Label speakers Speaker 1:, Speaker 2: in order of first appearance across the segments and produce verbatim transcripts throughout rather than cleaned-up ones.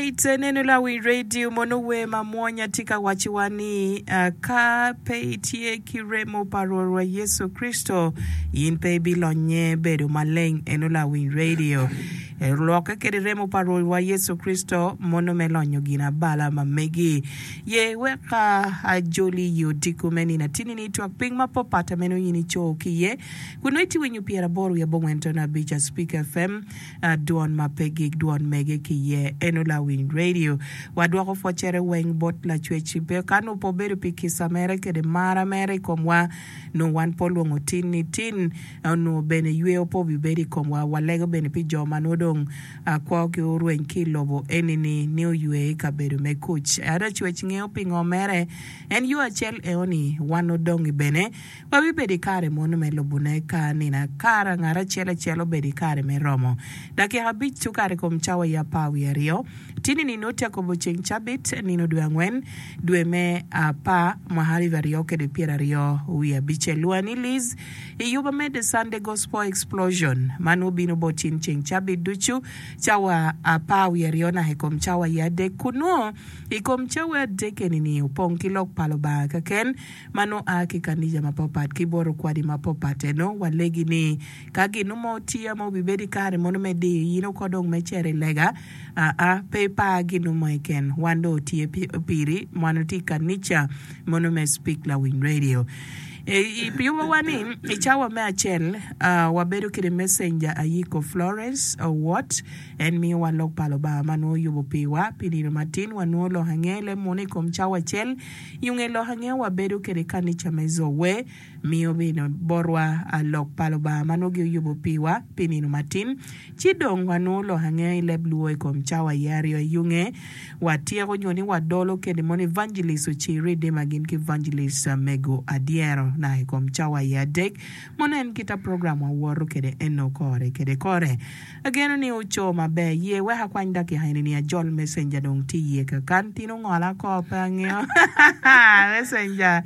Speaker 1: Alright, neno lawiny radio mono wer mamwonya tye ka wacciwa ni uh, ka pe itye ki remo pa Rwotwa Yecu Kricito, in pe ibilonye bedo maleng. Eno lawiny radio lokke kede remo pa Rwotwa Yecu Kricito mono me lonyo gin abala ma megi. Ye wek uh, ajoli i odiko me nino atini ni twak piny ma papat meno in ico ki iye. Kun nongo itye winyo pyeraboro wiye abongwen tono abic a Speak F M, uh, dwon ma pe gik dwon mege ki iye eno lawiny radio. Wadwoko pwocere weng bot lacwec pe ka nongo pe obedo pi kica mere kede mara mere i komwa nongo wan pe olwongo tin ni tin onongo bene yweo pe obibedo i komwa. Walego bene pi jo ma nongo dong uh, kwogi orweny ki i lobo eni-ni ni oywe i kabedo me kuc. Ento cwec ngeo pingo mere en yo acel eo-ni wan odongi bene wabibedo i kare mono me lubone ka nino kara ngat acel acel obedo i kare me romo dakika abic okato i kom cawa i apar wiye aryo tini nino tye akobo ceng cabit nino dwe angwen dwe me apar mwaka alip aryo kede pyeraryo wiye abicel. Lwani Liz i yuba me The Sunday Gospel Explosion ma nongo bino bot cin ceng cabit ducu cawa apar wiye aryo naka i kom cawa i adek kun nongo i kom cawa adek eni-ni opong ki lok pa Lubanga keken ma nongo a ki kanica mapapat ki bot okwadi mapapat eno walegi ni ka gin mo tye ma obibedo i kare mono me diyo in oko dong me cito i lega aa pe ipar gin mo keken wan dong otye piri wan otye i kanica mono me Speak Lawiny Radio. I yubowa ni i cawa me acel uh, wabedo kede messenger Ayiko Florence Owot en miyowa lok pa Lubanga ma nongo oyubo piwa pi nino matin wanongo lok ange le muno i kom cawa acel yunge lok ange wabedo kede kanica me Zowe miyo bene botwa lok pa Lubanga ma nongo gioyubo piwa pi nino matin ci dong wanongo lok ange i leb luo i kom cawa i aryo i yunge watyeko nyo ni wadolo kede mono evangelist Ociri Dima gin ki evangelist Mego Adyero na i kom cawa i adek mono en kita program wawoto kede eno kore kede kore ageno ni oco maber ye wek akwany dakika eni ni ajol messenger dong tye iye kakan tin ongola ko pe angeo messenger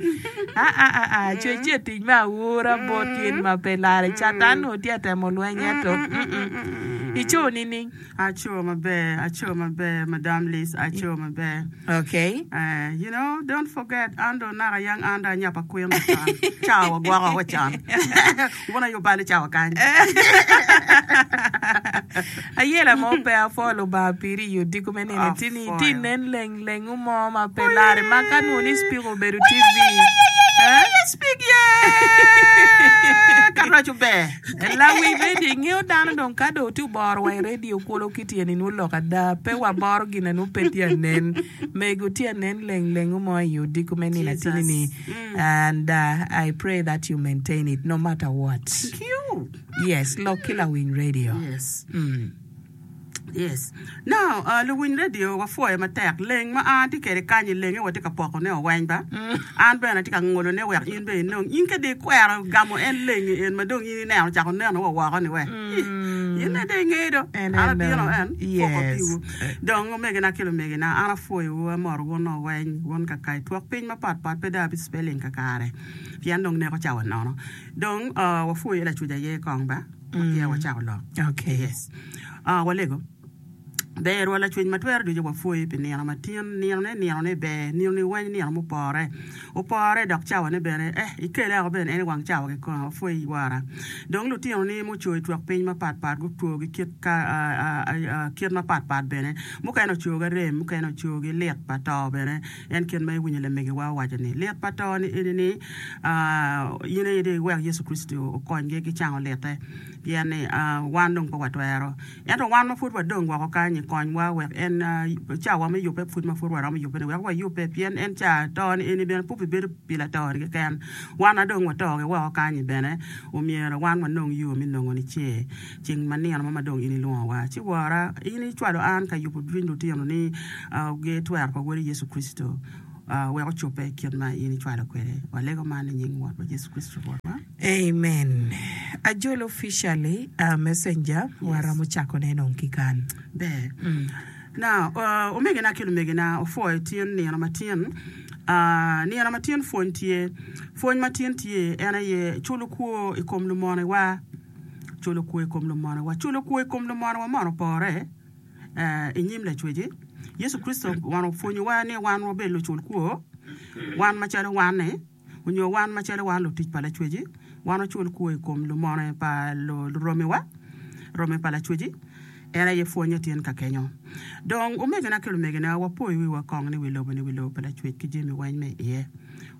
Speaker 1: ah ah ah ah cwec tye tic me awura bot in ma pe lare catan nongo tye atemo lweny ento mm-mm. Ico nining?
Speaker 2: Aco maber, aco maber, Madam Liz, aco maber.
Speaker 1: Okay.
Speaker 2: Uh, you know, don't forget, ando naka yang anda nyapa kwin con. Cawa gwoko wa con. Wuna yo bali cawa kany.
Speaker 1: Ayela mo pe afo Lubanga piri i odiko me nino tini ti nen leng lengu mo ma pe lare ma ka nongo ni speak obedo T V. Eh?
Speaker 2: Speak ye! Ka raco ber.
Speaker 1: Lawi radio ingeo dano dong ka dong tye oboro wa i radio kulo ki tyeni nwo lok ada pe waboro gin nwo pe tye anen mego tye anen leng lengu mo i odiko me nino atini ni and uh, I pray that you maintain it no matter what.
Speaker 2: Thank you.
Speaker 1: Yes, lok ki lawiny radio.
Speaker 2: Yes.
Speaker 1: Mm.
Speaker 2: Yes. Now, uh, luwiny radio wapwoyo matek leng ma an tye kede kany i lenge watye ka poko ne oweny ba an bene atye ka ngolo ne wek in be inong in kede ikwero gamo en lengi en ma dong in ineno cako neno wa woko ni we in ne de ingedo
Speaker 1: En
Speaker 2: an
Speaker 1: en
Speaker 2: abino en poko
Speaker 1: yes.
Speaker 2: piwu dong omegina ki lumegina an apwoyowu amoro wun oweny wun kaka twok piny mapatpat pe dong abi spelling kakare pien dong neko cawa nono dong uh, wapwoyo lacuc aye kong ba ma peya wacako lok.
Speaker 1: Okay.
Speaker 2: Yes. Uh, walego. Ber wa lacwec ma twero ducu wapwoyi pi nino matin ninone ninone ber ninoni weny nino mupore opore dok cawane bene eh ikele oko bene en i wang cawa kikome wapwoyi wara dong lutinoni muco i twok piny mapatpat gutwo gi kit ka uh, uh, uh, kit mapatpat bene mukene oco gi arem mukene oco gi lit pa to bene en kit ma iwinyo lamegiwa owaco ni lit pa to ni eni ni uh, in aye dong iwek Yecu Kricito okonygi ki cango litte pien ni uh, wan dong pe watwero ento wan ma pud wadong woko kany konywa wek en uh, cawa me yubbe pud ma pud waromo yubbe ni wek wayubbe pien en ca to ni eni bene pe obibedo pi lato ni keken wan adong watogi woko kany bene omyero wan wanong yo me nongo nicer ceng ma nino mo ma dong in ilwongowa ci wora in icwalo an ka yubo cwiny lutino ni uh, gitwero pa wodi Yecu Kricito uh, wek ocobbe kit ma in icwalo kwede walego man i nying Wot pa Yecu Kricito Rwotwa.
Speaker 1: Amen. Ajol officially uh, messenger
Speaker 2: Yes.
Speaker 1: waromo cako ne dong ki kan.
Speaker 2: Ber. Now, uh, omegina ki lumegina opwoyo tin nino matin uh, nino matin pwony tye pwony matin tye en aye culo kwo i kom lumonewa culo kwo i kom lumonewa culo kwo i kom lumonewa mono opore uh, i nyim lacweci Yecu Kricito wan opwonyowa ni wan wabed lucul kwor, wan macalo wan-ni, onyo wan macalo wan lutic pa Lacweci, wan wacul kwor i kom lumone pa luromiwa, romi pa Lacweci. En aye pwonye tin ka kenyo. Dong omegina ki lumegina, wapoyo wiwa kong ni wi lobo-ni wi lobo pa Lacwec ki jami weng me iye.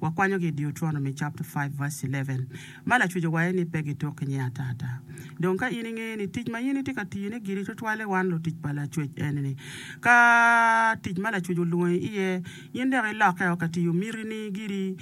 Speaker 2: Wakwanyogi i Deuteronomy chapter five verse eleven ma Lacwec owaco ni pe gituk ki nying ata ata. Dong ka in ingeyo ni tic ma in itye ka tiyone giri tutwalle wan lutic pa Lacwec eni-ni, ka tic ma Lacwec olwongi iye in dok ilokkeo ka tiyo mitini giri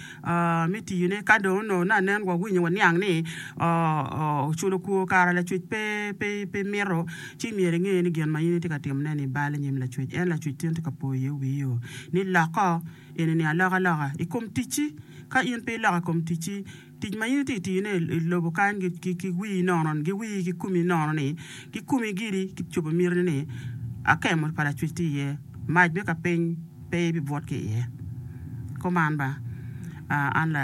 Speaker 2: me tiyone, ka dong onongo nanen wawinyo waniang ni oculo kwor kara Lacwec pe pe pe mito, ci myero inge ni gin ma in itye ka timone-ni bal i nyim Lacwec. En Lacwec tin tye ka poyo iye wii-o ni lokko eni-ni alokaloka i kom ticci. Ka in pe iloko i kom ticci, tic ma in itye ka tiyone i lobo kany ki wii nono, ki wii ki komi nono-ni, ki komi giri ki cobo mitini-ni, akemo pa Lacwec tye iye, mac me kapiny pe ibibwot ki iye. Kuman ba, an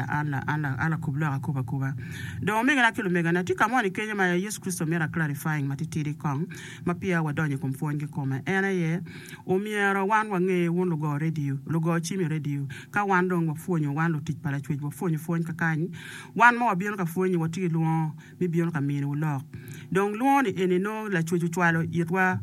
Speaker 2: lakub lok akubo akuba. Dong omegina ki lumegina, tye ka moni kenyo ma Yecu Kricito mito a clarifying matitidi kong ma peya wadonyo i kom pwony kikome. En aye, omyero wan wange wun lugo redio, lugo cim i redio, ka wan dong wapwonyo, wan lutic pa Lacwec wapwonyo pwony kakany, wan ma wabino ka pwonyo watye ki lwongo me bino ka miniwu lok. Dong lwongo ni eni nongo Lacwec ocwalo itwa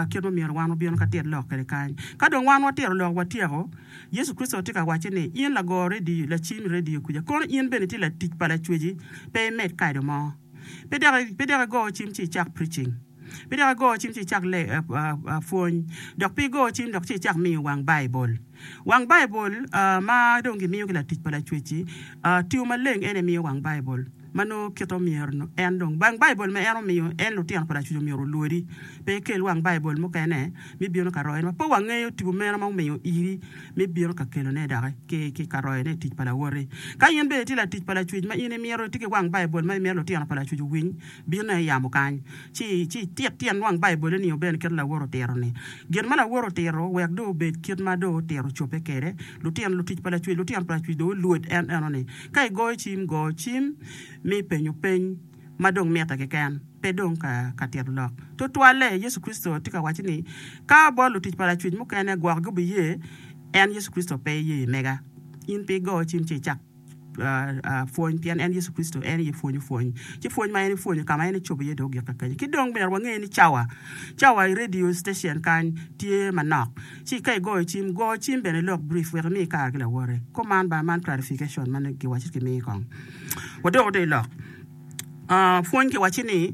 Speaker 2: kit ma myero wan wabino ka tit lok kwede kany. Ka dong wan watito lok watyeko, Yecu Kricito tye ka wacce ni, In lago redio, lacim i redio kuca, kono in bene itye latic pa Lacweci, pe imed kado mo. Pe dok igo cim ci icak preaching. Pe dok igo cim ci icak pwony. Dok pe igo cim dok ci icak miyo wang Baibul. Wang Baibul ma dong gimiyo ki latic pa Lacwec-ci, tiyo maleng en aye miyo wang Baibul ma nongo kite omyero en dong. Wang Baibul ma en omiyo en lutino pa Lacwec omyero olwodi. Pe ikel wang Baibul mukene me bino ka royone ma pe wangeyo tipo meno ma omiyo iri me bino ka kelone doki ki ka royone i tic pa lawoti. Ka in bene itye latic pa Lacwec ma in imito itye ki wang Baibul ma imito lutino pa Lacwec owiny, binne i yamo kany ci ci itit tyen wang Baibul-li ni bene kit lawoti otito-ni. Gin ma lawoti otito wek dong obed kit ma dong otito ocobbe kwede. Lutino lutic pa Lacwec, lutino pa Lacwec dong olwod en eno-ni. Ka igoyo cim, go cim me penyo peny ma dong mitte keken, pe dong ka tito lok. Tutwalle, Yecu Kricito tye ka waco ni, Ka bot lutic pa Lacwec mukene gwok gubiye, en Yecu Kricito pe iye i mega. In pe igo cim ci icak pwony, pien en Yecu Kricito en aye pwonyo pwony. Ci pwony ma en epwonyo ka ma en ecobo iye dong ogik kakenyo. Ki dong myero wange ni cawa, cawa i radio station kany tye manok. Ci ka igoyo cim, go cim bene ilok brief wek imi kare ki lawoti. Kuman ba, man clarification ma giwaco ki mi kong. Wadoko dong i lok. Pwony kiwacci ni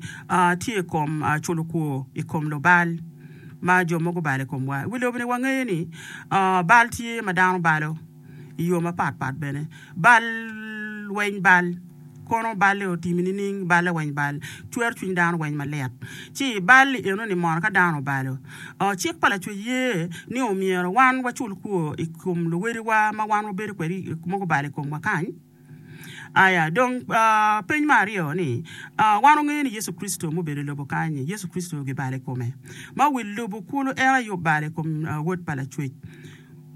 Speaker 2: tye i kom culo kwor i kom lubal ma jo mogo gubalo i komwa. I wi lobo-ni wangeyo ni bal tye ma dano balo i yo mapat pat bene. Bal weny bal, kono balle otimi nining? Balle weny bal, cwero cwiny dano weny malit. Ci bal-li enoni mono ka dano obalo, cik pa Lacwec ye ni omyero wan wacul kwor i kom luwediwa ma wan wabedo kwede ma gubalo i komwa kany? Aya, dong peny me aryo ni, wan wangeyo ni Yecu Kricito mubedo i lobo kany-nyi, Yecu Kricito gibalo i kome. Ma wi lobo kulu en aye obalo i kom Wod pa Lacwec.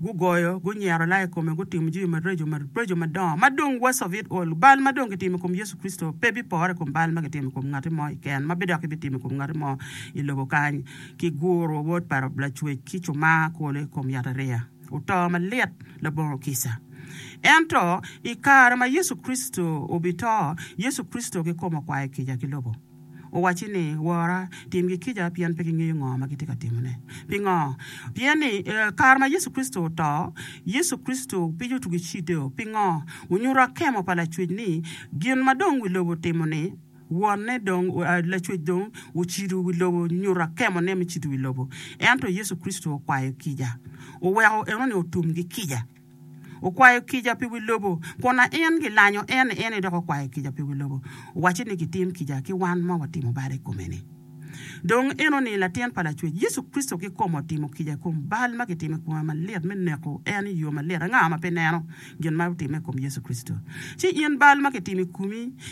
Speaker 2: Gugoyo, gunyero laa i kome, gutimo jami maraco maraco madongo, ma dong worst of it all, bal ma dong kitimo i kom Yecu Kricito pe bipore i kom bal ma kitimo i kom ngati mo keken, ma bidok gibitimo i kom ngati mo i lobo kany. Kiguro Wod pa Lacwec ki cumar kulu i kom yatariya. Oto malit labongo kica. Ento, i kare ma Yecu Kricito obito, Yecu Kricito kikome okwayo kica ki lobo. Owacci ni, Wora, timgi kica pien pe gingeyo ngo ma gitye ka timone. Pingo? Pien ni, i kare ma Yecu Kricito oto, Yecu Kricito piny otugo cideo. Pingo? Onyuto akemo pa Lacwec ni gin ma dong wi lobo otimo-ni, Wonne dong, Lacwec dong ocido wi lobo, nyuto akemone me cido wi lobo. Ento Yecu Kricito okwayo kica, oweko enoni otum ki kica. Okwayo kica pi wi lobo, kun na en gilanyo en ni en aye dok okwayo kica pi wi lobo. Owacce ni gitim kica ki wan ma watimo bal i kome-ni. Dong enoni Latin pa Lacwec, Yecu Kricito kikome otimo kica i kom bal ma kitimo i kome malit me neko en i yo malit. Anga ma pe neno gin ma otimme i kom Yecu Kricito? Ci in bal ma kitimo i komi